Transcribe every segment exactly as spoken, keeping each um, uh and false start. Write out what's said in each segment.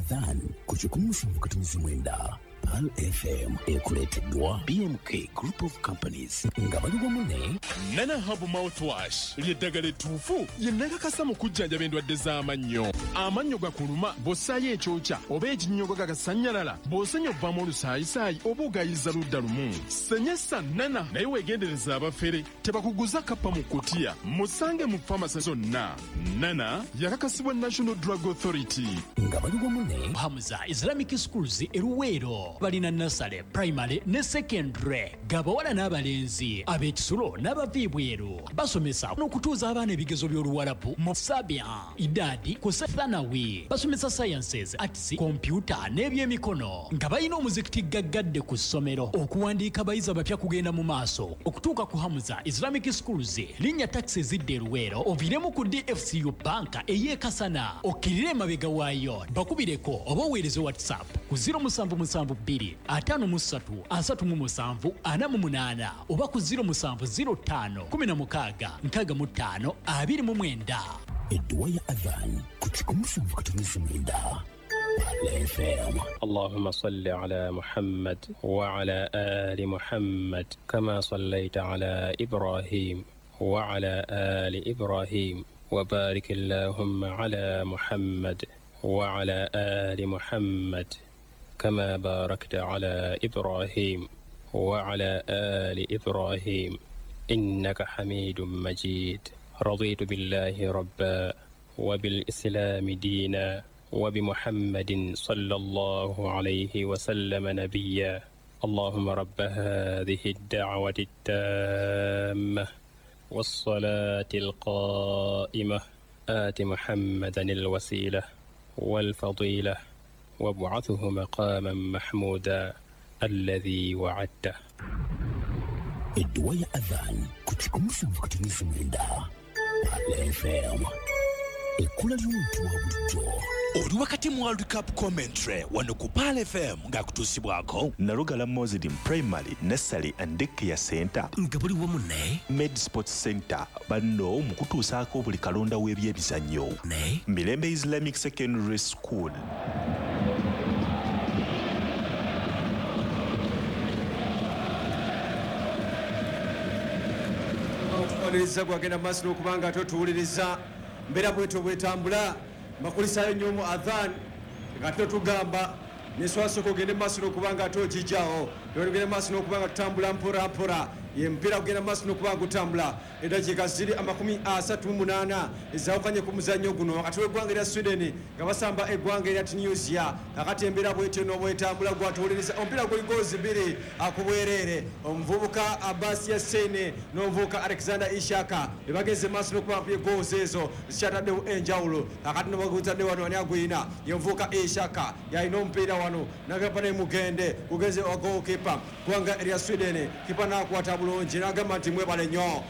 Adhan ku kikumi musanvu katonzi mwenda Pearl F M ekuleeteddwa B M K Group of Companies nga bali wamu ne Nana Herbal Mouthwash ly'eddagala ettuufu ye nakakasa mu kujjanjaba endwadde z'amannyo. Amannyo gakuluma bw'ossaayo ekyokya oba ekinnyogo gagasannyalala, bw'osenya ovaamu olusaayisaayi oba ogayiza ludda lumu. Senyesa Nana naye weegendereza abafere tebakuguza kappa mu kutiya. Musange mu famasi zonna. Nana yakakasibwa National Drug Authority nga bali wamu ne Hamza Islamic Schools e Luweero. Balina nursery, primary ne secondary gabawala n'abalenzi ab'ekisulo n'abava ebweru. Basomesa n'okutuuza abaana ebigezo by'Oluwarabu mu Sabia, Idadi ku Thanawi. Basomesa sciences, arts, computer n'ebyemikono nga balina omuzikiti gaggadde ku ssomero. Okuwandiika abayizi abapya kugenda mu maaso okutuuka ku Hamza Islamic Schools. Linnya taxi ezidda e Luweero oviiremu ku D F C U Bank ey'e Kasana okkirire emabega waayo. Bakubireko oba oweereze WhatsApp ku zero musanvu musanvu bbiri ataano mu ssatu asatu mu musanvu ana mu munaana oba ku zero musanvu zero ttaano kumi na mukaaga nkaaga mu ttaano abiri mu mwenda. Edduwa ya Adhan ku kikumi musanvu katonzi mwenda Pearl F M. Allahumma salli ala Muhammad wa ala ali Muhammad kama sallaita ala Ibrahim wa ala ali Ibrahim wa barik Allahumma ala Muhammad wa ala ali Muhammad كما باركت على إبراهيم وعلى آل إبراهيم إنك حميد مجيد. رضيت بالله ربا وبالإسلام دينا وبمحمد صلى الله عليه وسلم نبيا. اللهم رب هذه الدعوة التامة والصلاة القائمة آت محمدا الوسيلة والفضيلة وابعثه مقاما محمودا الذي وعدته. Edduwa ya Adhan ku kikumi musanvu katonzi mwenda Pearl F M. Ekkula ly'omuntu wa bulijjo. Oli wakati mu World Cup commentary wano ku Pearl F M ng'akutuusibwako Nalugala Muslim Primary Nursery and Daycare Center nga buli wamu ne Med Sports Center banno mu kutuusaako buli kalonda w'ebyemizannyo ne Mirembe Islamic Secondary School. Okutuwuliriza gwagenda maaso n'okubanga ate otuwuliriza mbeera bwetyo bwetambula. Mbakulisaayo nnyo mu Adhan nga ate tugamba neswasooka ogende maaso n'okubanga ate ogijjawo tugende maaso n'okubanga tutambula mpola mpola. Ye mupiira gugenda maaso n'okubanga gutambula. Eddakiika ziri amakumi asatu mu munaana ezaawukanye ku muzannyo guno wakati w'eggwanga erya Sweden nga basamba eggwanga erya Tunisia. Kakati embeera bwetyo n'obwetambula gwatuwuliriza. Omupiira guli goozi bbiri akubwereere. Omuvubuka Abbas Yassine n'omuvubuka Alexander Ishaka ebagenze maaso n'okuba bakubye goozi ezo zikyataddewo enjawulo. Kakati nobagutadde wano ani agwina ye omuvubuka Ishaka yalina omupiira wano nagamba ne mugende gugenze wa goalkeeper ggwanga erya Sweden. Kipa n'akwata bulungi n'agamba nti mwebale nnyo.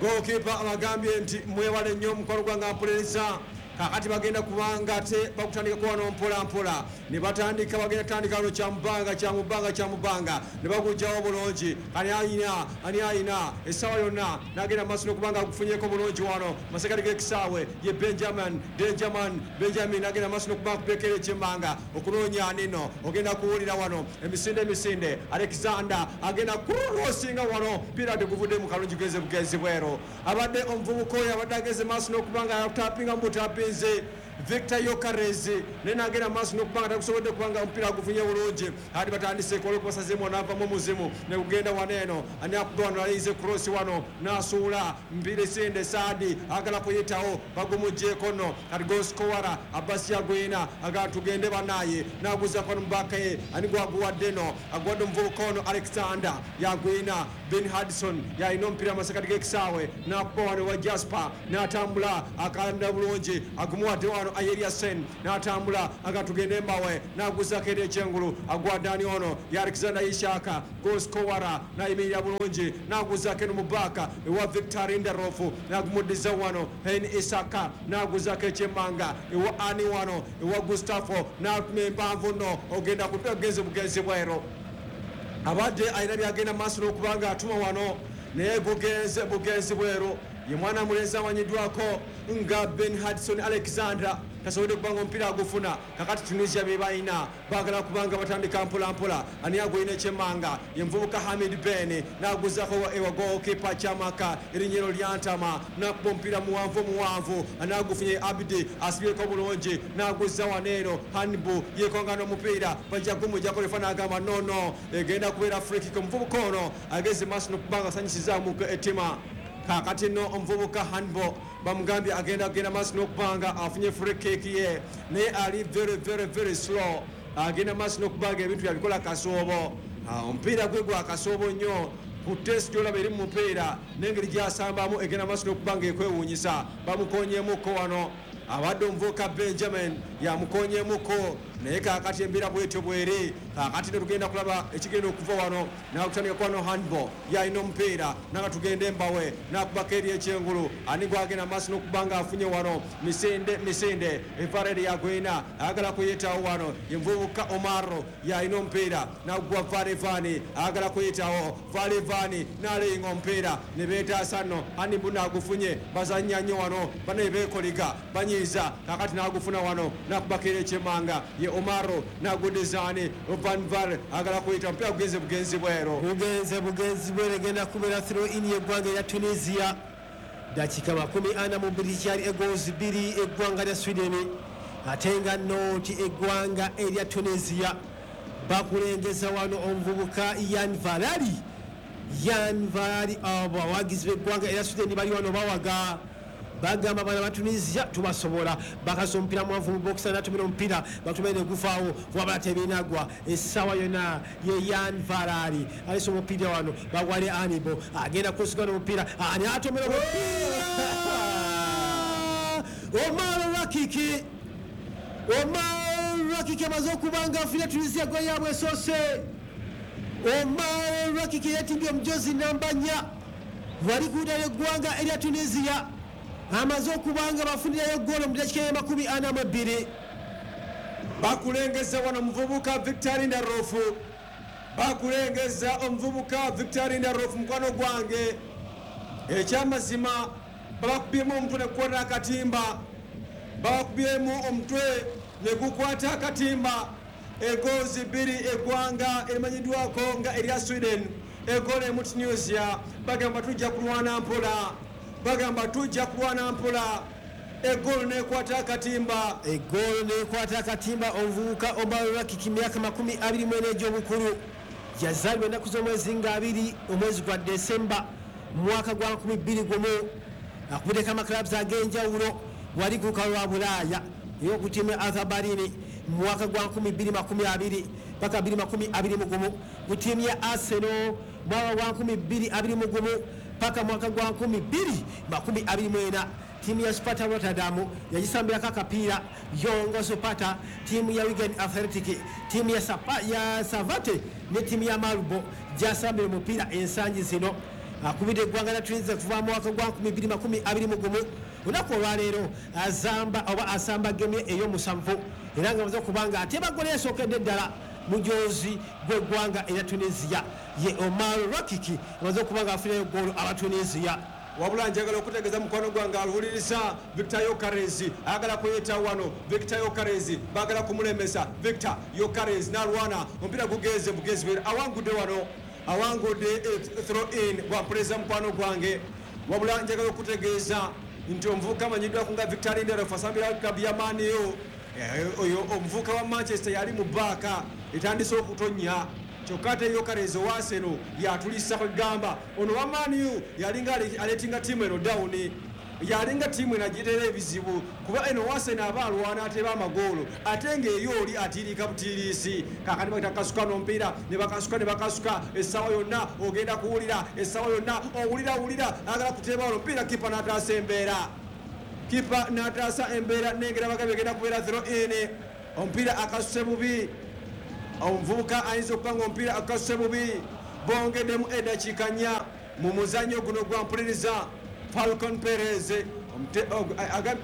Goalkeeper abagambye nti mwebale nnyo omukwano gwange ampuliriza. Kakati bagenda kubanga ate bakutandika kuwano mpola mpola ne batandika bagenda kutandika wano kyamubanga kyamubanga kyamubanga ne bagujjawo bulungi. Ani ayina ani ayina essaawa yonna n'agenda maaso n'okubanga agufunyeko bulungi wano masekati g'ekisaawe ye Benjamin Benjamin Benjamin n'agenda maaso n'okubanga akubekera ekyemmanga okunoonya nino ogenda kuwulira wano emisinde emisinde. Alexander agenda kurosinga wano mpira teguvudde mu kalungi genze bugenzi bweru. Abadde omuvubuka oyo abadde ageze maaso n'okubanga atapinga mu butapi Victor Yokarezi naye n'agenda maaso n'okubanga takusobodde kubanga omupiira agufunye bulungi. Ati batandise olwokubasazeemu n'avamu omuzimu ne gugenda wano eno ani akuba wano alinze cross wano n'asuula mpira sinde Saadi agala kuyitawo bagumuggyeko nno. Kati goalscorer Abbas Yagwina agala tugende bannaye n'aguzaako wano mubaka ye ani gwaguwadde nno aguwadde omuvubuka ono Alexander Yagwina. Ben Hudson yalina omupiira amasekati g'ekisaawe n'akuba wano wa Jasper n'atambula akanda bulungi agumuwadde wano Ayeriasen n'atambula aga tugende mbawe n'aguzaako eri ekyengulu agwadde ani ono ye Alexander Ishaka goalscorer n'ayimirira bulungi n'aguzaako eno mu baaka ewa Victor Lindelof n'agumuddiza wano Hen Isaka n'aguzaako ekyemmanga ewa ani wano ewa Gustavo n'atuma empanvu nno ogenda kugenze bugenzi bweru. Abadde alina byagenda maaso n'okubanga atuma wano naye gugenze bugenzi bweru. Ye mwana mulenzi amanyiddwako nga Ben Hudson Alexander Tasobodde kubanga omupiira agufuna. Kakati Tunisia be balina baagala kubanga batandika mpola mpola. Ani agwine ekyemmanga ye muvubuka Hamid Ben n'aguzaako ewa goalkeeper Chamaka erinnya lyantama n'akuba omupiira muwanvu muwanvu n'agufunye Abdi asibyeko bulungi n'aguza wano eno Hanbu yekonga n'omupiira bajja gumujjako refa n'agamba no no egenda kubeera free kick. Omuvubuka ono ageze maaso n'okubanga asanyisizaamu ettima. Kakati no omuvubuka Hanbo bamugambye agenda agenda maaso n'okubanga afunye free kick ye naye ali very very very slow, agenda maaso n'okubanga ebintu byabikola kasoobo. Omupiira gwe gwa kasoobo nnyo ku test gy'olaba eri mu mupiira n'engeri gy'asambamu egenda maaso n'okubanga ekwewuunyisa. Bamukonyeemuko wano abadde omuvubuka Benjamin yamukonyeemuko naye kaakati embeera bwetyo bweri. Kaakati ne tugenda kulaba ekigenda okuva wano nakutandika kwano handball yalina omupiira nanga tugende embawe nakubako eri ekyengulu ani gwagenda maaso n'okuba nga afunye wano misinde misinde evaredi yagwina ayagala kuyitawo wano ye muvubuka Omaro yalina omupiira nagwa Valevani ayagala kuyitawo Valevani n'aleyinga omupiira ne beetaasa nno Hanibu n'agufunye bazannya nnyo wano bane beekoliga banyiiza kaakati n'agufuna wano nakubako eri ekyemanga ye Omaro n'agudizaani Van Val agala kuyita omupiira gugenze bugenzi bwero bugenze bugenzi bwero egenda kubeera throw in y'eggwanga erya Tunisia. Dakika makumi ana mu bbiri kyali egoals bbiri eggwanga lya Sweden ate nga nno nti eggwanga erya Tunisia bakulengeza wano omuvubuka Yan Valari. Yan Valari abo abawagizi b'eggwanga erya Sweden bali wano bawaga bagamba bana ba Tunisia tubasobola. Bakasa omupiira mwanvu mu box n'atumira omupiira batumire ne guvaawo wabala tebinagwa essaawa yonna ye Yan Valari alese omupiira wano bagwale Anibo agenda kusigana omupiira ani atomera omupiira Omar Rakiki. Omar Rakiki amaze okuba nga afunira Tunisia gwe yaabwe esoose. Omar Rakiki yeetimbye omujozi namba nnya wali ku ludda lw'eggwanga erya Tunisia amaze okubanga bafunirayo ggoolo mu dakiika y'amakumi ana mu ebbiri. Bakulengeza wano omuvubuka Victor Lindelof, bakulengeza omuvubuka Victor Lindelof mukwano gwange. Ekyamazima babakubyemu omutwe ne gukwata akatimba, babakubyemu omutwe ne gukwata akatimba. Egozi bbiri eggwanga erimanyiddwako nga erya Sweden egoolo emu Tunisia. Bagamba tujja kulwana mpola, bagamba tujja kulwana mpola. Egoolo nekwata akatimba, egoolo nekwata akatimba. Omuvubuka Omar Rakiki myaka makumi abiri mu ena egy'obukulu yazaalibwa ennaku z'omwezi nga abiri omwezi gwa Desemba mu mwaka gwa nkumi bbiri gumu. Akubiddeko amaclubs ag'enjawulo wali ku lukalu lwa Bulaaya ey'oku ttiimu ya Arthur Berlin mu mwaka gwa nkumi bbiri makumi abiri paka bbiri makumi abiri mu gumu, ku ttiimu ya Arsenal mwaka gwa nkumi bbiri abiri mu gumu paka mwaka gwa nkumi bbiri makumi abiri mu ena. Tiimu ya Sparta Rotterdam yagisambirako akapiira Yongo Sparta, tiimu ya Wigan Athletic, tiimu ya, Sapa, ya Savate ne tiimu ya Marbo gyasambira omupiira ensangi zino. Akubidde eggwanga lya Tunisia kuva mu mwaka gwa nkumi bbiri makumi abiri mu gumu. Olunaku olwaleero azamba oba asamba gemu ey'omusanvu era nga amaze okuba nga ateeba ggoolo esookedde ddala mujozi gw'eggwanga erya Tunisia ye Omar Rakiki amaze okuba nga afunirayo ggoolo aba Tunisia. Wabula njagala okutegeeza mukwano gwange aluwuliriza Victor Yokarezi ayagala kuyita wano. Victor Yokarezi baagala kumulemesa. Victor Yokarezi n'alwana omupiira gugenze bugezi awangudde wano, awangudde throw in bwampuliza mukwano gwange. Wabula njagala okutegeeza nti omuvubuka amanyiddwako nga Victor Lindelof asambira club ya Man U. Oyo omuvubuka wa Manchester yali mu bbaaka etandise okutonnya kyokka ate Yokarezi owa Arsenal yatulisa kwegamba ono wa Man U yalinga aleetinga ttiimu eno down, yalinga ttiimu eno agiteera ebizibu kuba eno wa Arsenal aba alwana ateeba amagoolo ate ng'eyo oli atiirika butiiriisi. Kaakati bagita kasuka n'omupiira ne bakasuka ne bakasuka essaawa yonna ogenda kuwulira essaawa yonna owulira wulira ayagala kuteeba wano omupiira kipa n'ataasa embeera, kipa n'ataasa embeera nengera bagambye egenda kubeera throw in. Omupiira akasuse bubi, omuvubuka ayinza okuba nga omupiira akasuse bubi. Bongeddemu eddakiika nnya mu muzannyo guno gwa mpuliriza Falcon Perez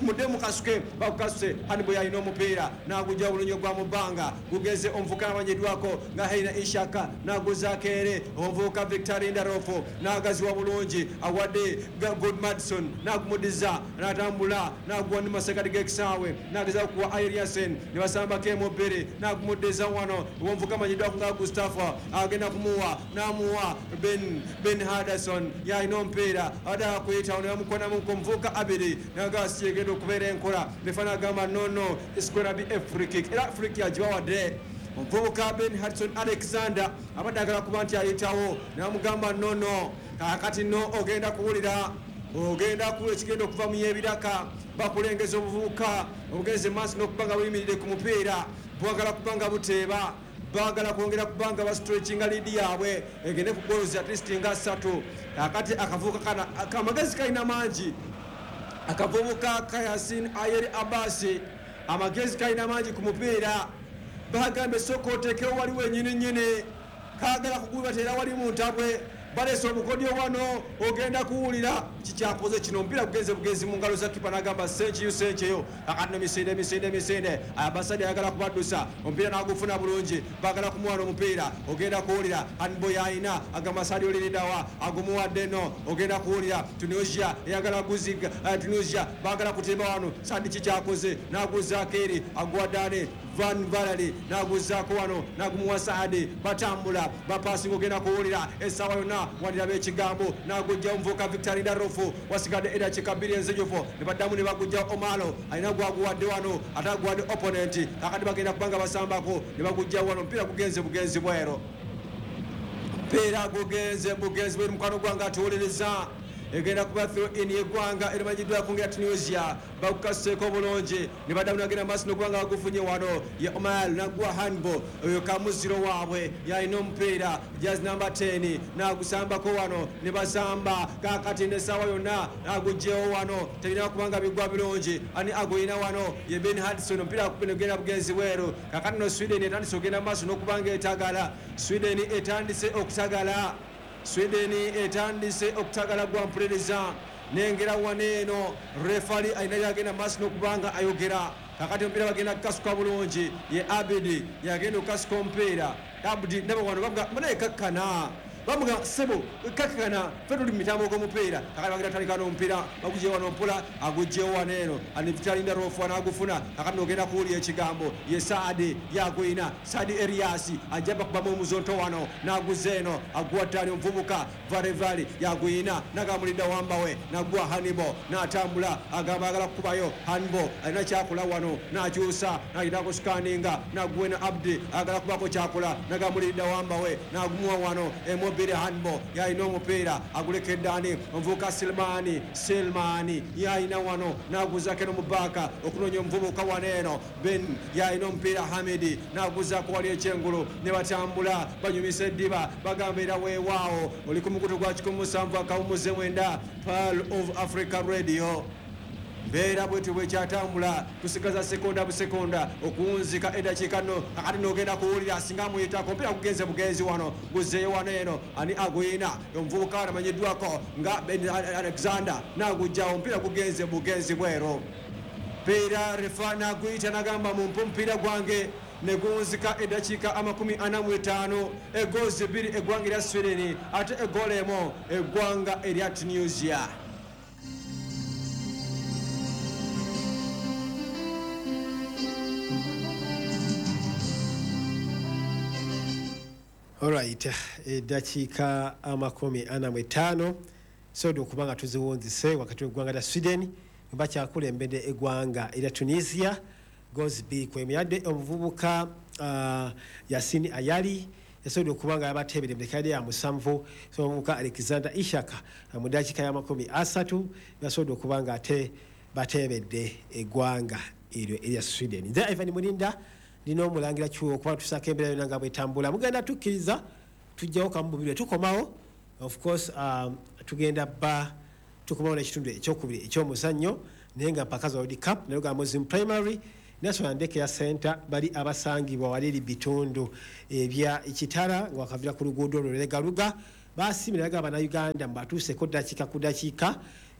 Mudde mukasuke, bakukasuse. Hanibo yalina omupiira n'agujja bulungi ogwa mu bbanga, gugeze omuvubuka amanyiddwako nga Heina Ishaka n'aguzaako ere omuvubuka Victor Lindelof n'agaziwa bulungi awadde Good Madison n'agumudiza n'atambula n'aguwa ne masekati g'ekisaawe n'agezaako kuwa Eliasen ne basambako emu bbiri n'agumudiza wano omuvubuka amanyiddwako nga Gustafa agenda kumuwa n'amuwa Ben Ben Henderson yalina omupiira abadde akuyitawo ne bamukonamu omuvubuka Abiri n'agasi egenda okubeera enkola nefana agamba no no it's gonna be a free kick, era free kick agibawadde omuvubuka Ben Hudson Alexander abadde agala kuba nti ayitawo n'amugamba no no kaakati no ogenda kuwulira ogenda kuwulira ekigenda okuva mu y'ebiraka. Bakulengeza obuvubuka obugenze maaso n'okuba nga buyimiridde ku mupiira, bwagala kuba nga buteeba, baagala kwongera kubanga bastretchinga lead yaabwe egende ku goals at least nga ssatu. Kaakati akavubuka kana amagezi kalina mangi, akavubuka ka Yasin Ayeri Abasi amagezi kalina mangi ku mupiira. Bagambe sooka oteekewo wali wennyini nnyini, kaagala kugubatera wali mu ntabwe, baleese obukodyo wano ogenda kuwulira kikyakoze kino. Omupiira gugenze bugenzi mu ngalo za kipa n'agamba senkiyo senkiyo. Kakati nemisinde misinde misinde abasajja ayagala kubaddusa omupiira n'agufuna bulungi, baagala kumuwana omupiira ogenda kuwulira. Hanibo yalina agamba Sadio Liridawa agumuwadde no ogenda kuwulira. Tunisia eyagala guziga, Tunisia baagala kutemba wano. Sadi kikyakoze n'aguzaako eri aguwaddane Van Valery n'aguzaako wano n'agumuwa Saadi, batambula bapasinga ogenda kuwulira essaawa yonna waliraba ekigambo n'agujja omuvubuka Victor Lindelof wasigadde eddakiika bbiri enzijuvu ne baddamu ne bagujja Omalo alina gwaguwadde wano ate aguwadde opponent. Kakati bagenda kubanga basambako ne bagujja wano, omupiira gugenze bugenzi bwero, omupiira gugenze bugenzi bweru. Mukwano gwange atuwuliriza egenda kuba throw in y'eggwanga erimanyiddwako nga Tunisia, bagukaseeko bulungi ne baddamu nagenda maaso n'okuba nga bagufunye wano ye Omar n'aguwa Hanbo oyo kamuziro waabwe yalina omupiira jazz number ten n'agusambako wano ne basamba. Kaakati n'essaawa yonna n'aguggyewo wano terina kuba nga bigwa bulungi. Ani agulina wano ye Ben Hudson, omupiira gugenda bugenzi bweru. Kaakati no Sweden etandise okugenda maaso n'okuba nga etagala, Sweden etandise okutagala, Sweden etandise okutagala gwa mpuliriza. Nengera wano eno refali alina byagenda maaso n'okubanga ayogera. Kakati omupiira bagenda kukasuka bulungi ye Abidi yagenda okukasuka omupiira Abdi ndaba wano bamuga munaye kakkana, bamuga sebo kakkana ffe tuli mu mitambo gw'omupiira. Kakati bagenda kutandika n'omupiira bagugye wano mpola agugyewo wano eno ani Victor Lindelof n'agufuna. Kakati n'ogenda kuwulira ekigambo ye Saadi yagwina Saadi Elias ajja bakubamu omuzonto wano n'aguza eno aguwaddani omuvubuka Varevali yagwina n'agamulidda wambawe n'aguwa Hanibo n'atambula agamba agala kukubayo Hanibo alina kyakola wano n'akyusa n'agenda kusikaninga n'aguwena Abdi agala kubako kyakola n'agamulidda wambawe n'agumuwa wano emo Bire Hanbo yalina omupiira agulekedde ani omuvubuka Silmani Silmani yalina wano n'aguzaako eno mu bbaaka okunoonya omuvubuka wano eno Ben yalina omupiira Hamidi n'aguzaako wali ekyengulu ne batambula banyumisa eddiba bagamba era weewaawo oli ku mukutu gwa kikumi musanvu akawumuze mwenda Pearl of Africa Radio. Mbeera bwetyo bwekyatambula tusigaza sekonda busekonda okuwunzika eddakiika nno. Kakati n'ogenda kuwulira singa amuyitako omupiira gugenze bugenzi wano guzeeyo wano eno ani agwina omuvubuka amanyiddwako nga Ben Alexander n'agujjawo omupiira gugenze bugenzi bwero. Mpiira refa n'aguyita n'agamba mumpe omupiira gwange ne guwunzika eddakiika amakumi ana mu etaano egozi bbiri eggwanga erya Sweden ate eggoolo emu eggwanga erya Tunisia. Alright, eddakiika amakumi ana mu etaano soda okuba nga tuziwunzise wakati w'eggwanga lya Sweden bakyakulembedde eggwanga erya Tunisia goals bbiri ku emu. Yadde omuvubuka uh, Yasin Ayali yasobodde okuba nga yabateebere mu ddakiika ya musanvu, so omuvubuka Alexander Ishaka mu ddakiika ya makumi asatu yasobodde okuba nga ate bateebedde eggwanga eryo erya Sweden. Nze Ivan Mulinda ndina omulangira kiwo okuba tusaako embeera yonna nga bwetambula. Mugenda tukkiriza tujjawo kamububirwe tukomawo of course um, tugenda ba tukomawo n'ekitundu ekyokubiri eky'omuzannyo naye nga mpaka za World Cup nayo ga Muslim Primary National Daycare Center bali abasangibwa wali eri bitundu ebya Kitara nga wakavira ku luguudo olwo Legaluga basiimira ga bannayuganda mbatuuseko ddakiika ku ddakiika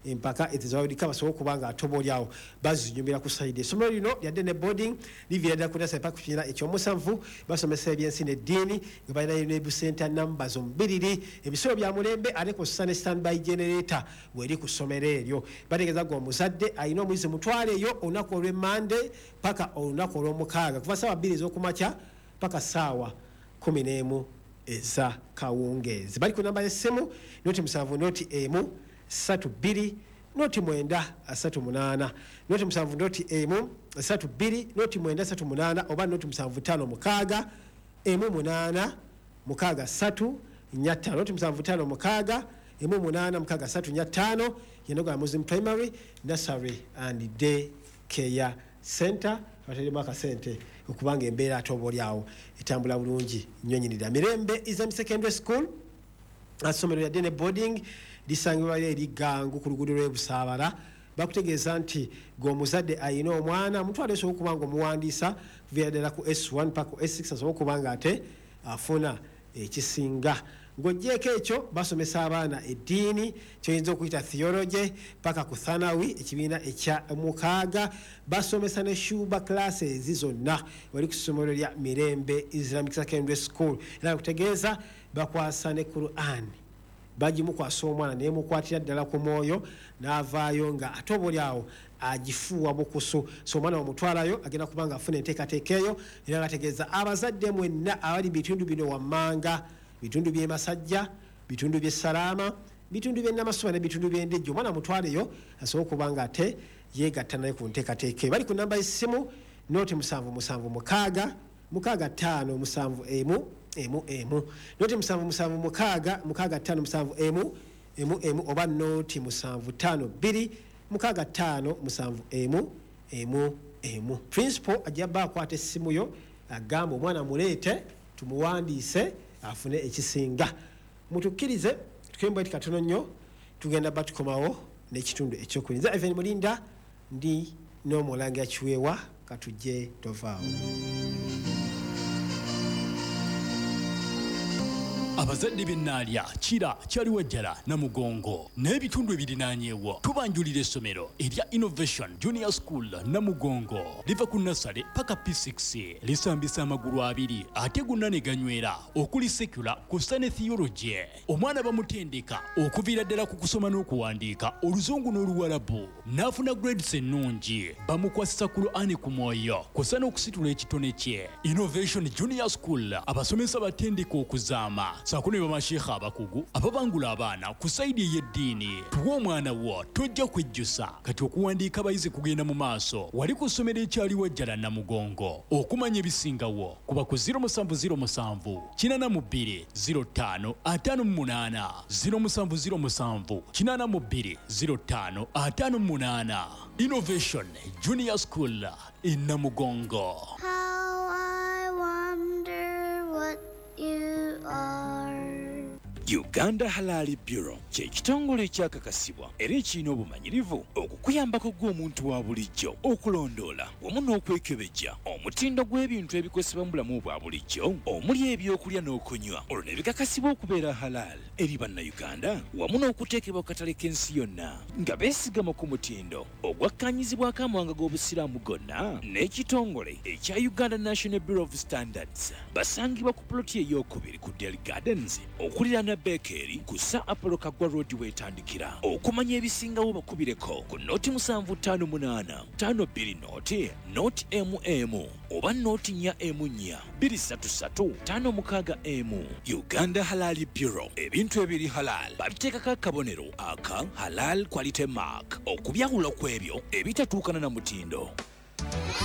Empaka eza World Cup basobole okuba nga ate oba oliawo bazinyumira ku side. Essomero lino lyadde ne boarding, liviira ddala ku nursery paka ku kibiina ekyomusanvu. Basomesa ebyensi n'eddiini nga balinayo ne busenta numbers omubiriri, ebisolo bya mulembe, ate kw'ossa ne standby generator weri ku ssomero eryo. Bategeeza gwe omuzadde alina omuyizi, mutwaleeyo olunaku olw'emmande paka olunaku olw'omukaaga, kuva ssaawa bbiri ez'okumakya paka ssaawa kumi n'emu eza kawungeezi. Bali ku namba y'essimu noti musanvu noti emu ssatu bbiri noti mwenda asatu munaana, noti musanvu noti emu ssatu bbiri noti mwenda asatu munaana, oba noti musanvu ttaano mukaaga emu munaana mukaaga ssatu nnya ttaano, noti musanvu ttaano mukaaga emu munaana mukaaga ssatu nnya ttaano. Yenoga Muslim Primary, Nursery and Day Care Center. Bateremu akasente okubanga embeera ate oba oliawo etambula bulungi nnyo nnyinira. Mirembe Islam Secondary School, essomero lyadde ne boarding, lisangibwa eri Gangu ku luguudo lw'e Busaabala. Bakutegeeza nti gwe omuzadde alina omwana, mutwale osobola okuba nga omuwandiisa kuviira ddala ku S one paka ku S six, asobole okuba nga ate afuna ekisinga. Ng'oggyeeko ekyo, basomesa abaana eddiini, kyoyinza okuyita theology, paka ku thanawi, ekibiina ekya mukaaga. Basomesa ne shuba classes zonna wali ku ssomero lya Mirembe Islamic Secondary School. Era kutegeeza bakwasa ne Quran, bagimukwasa omwana nemukwatira ddala ku mwoyo, n'avaayo nga ate oba oliawo agifuuwa bukusu. So omwana wamutwalayo agenda kuba nga afuna enteekateeka eyo. Era bategeeza abazadde mwenna abali bitundu bino wammanga, bitundu by'e Masajja, bitundu by'e Salaama, bitundu by'e Namasuba ne bitundu by'Endejjo, omwana mutwaleyo asobole okuba nga ate yeegatta naye ku nteekateeka eyo. Bali ku namba y'essimu noti musanvu musanvu mukaaga mukaaga ttaano musanvu emu emu emu, noti musanvu musanvu mukaaga mukaaga ttaano musanvu emu emu emu, oba noti musanvu ttaano bbiri mukaaga ttaano musanvu emu emu emu. Principal ajja bba akwata essimu yo, agamba omwana muleete tumuwandiise afune ekisinga. Mutukkirize tukembe eti katono nnyo, tugenda ba tukomawo n'ekitundu ekyokubiri. Nze Ivan Mulinda, ndi n'omulangira Kiweewa. Katujje, tovaawo. Abazadde b'Ennaalya, Kira, Kyaliwajjala, Namugongo n'ebitundu ebirinaanyeewo, tubanjulira essomero erya Innovation Junior School Namugongo. Liva ku nursery paka P six, lisambisa amagulu abiri ate gonna ne ganywera, okuli secular kussa ne theology. Omwana bamutendeka okuviira ddala ku kusoma n'okuwandiika Oluzungu n'Oluwalabu, n'afuna grades ennungi. Bamukwasisa Kur'ani ku mwoyo kussa n'okusitula ekitone kye. Innovation Junior School, abasomesa batendeka okuzaama saako ne bamasheekha abakugu ababangula abaana ku side ey'eddiini. Tuwa omwana wo, tojja kwejjusa. Kati okuwandiika abayizi kugenda mu maaso wali ku ssomero ekyaliwajjala Namugongo. Okumanya ebisingawo kuba ku zero musanvu zero musanvu kinaana mu bbiri zero ttaano ataano mu munaana, zero musanvu zero musanvu kinaana mu bbiri zero ttaano ataano mu munaana. Innovation Junior School e Namugongo. How I wonder what you are. Uganda Halal Bureau kye kitongole ekyakakasibwa era ekirina obumanyirivu okukuyambako gwe omuntu wa bulijjo okulondoola wamu n'okwekebejja omutindo gw'ebintu ebikozesebwa mu bulamu bwa bulijjo, omuli ebyokulya n'okunywa, olwo ne bikakasibwa okubeera halal eri Bannayuganda wamu n'okuteekebwa ku katale k'ensi yonna nga beesigama ku mutindo ogwakkanyizibwako amawanga g'Obusiraamu gonna n'ekitongole ekya Uganda National Bureau of Standards. Basangibwa ku puloti eyokubiri ku Del Gardens okuliraana Bekeri ku Sir Apollo Kaggwa Road weetandikira. Okumanya ebisingawo bakubireko ku noti musanvu ttaano munaana ttaano bbiri noti noti emu emu oba noti nnya emu nnya bbiri ssatu ssatu ttaano mukaaga emu. Uganda Halal Bureau, ebintu ebiri halal babiteekako akabonero aka Halal Quality Mark okubyawula ku ebyo ebitatuukana na mutindo.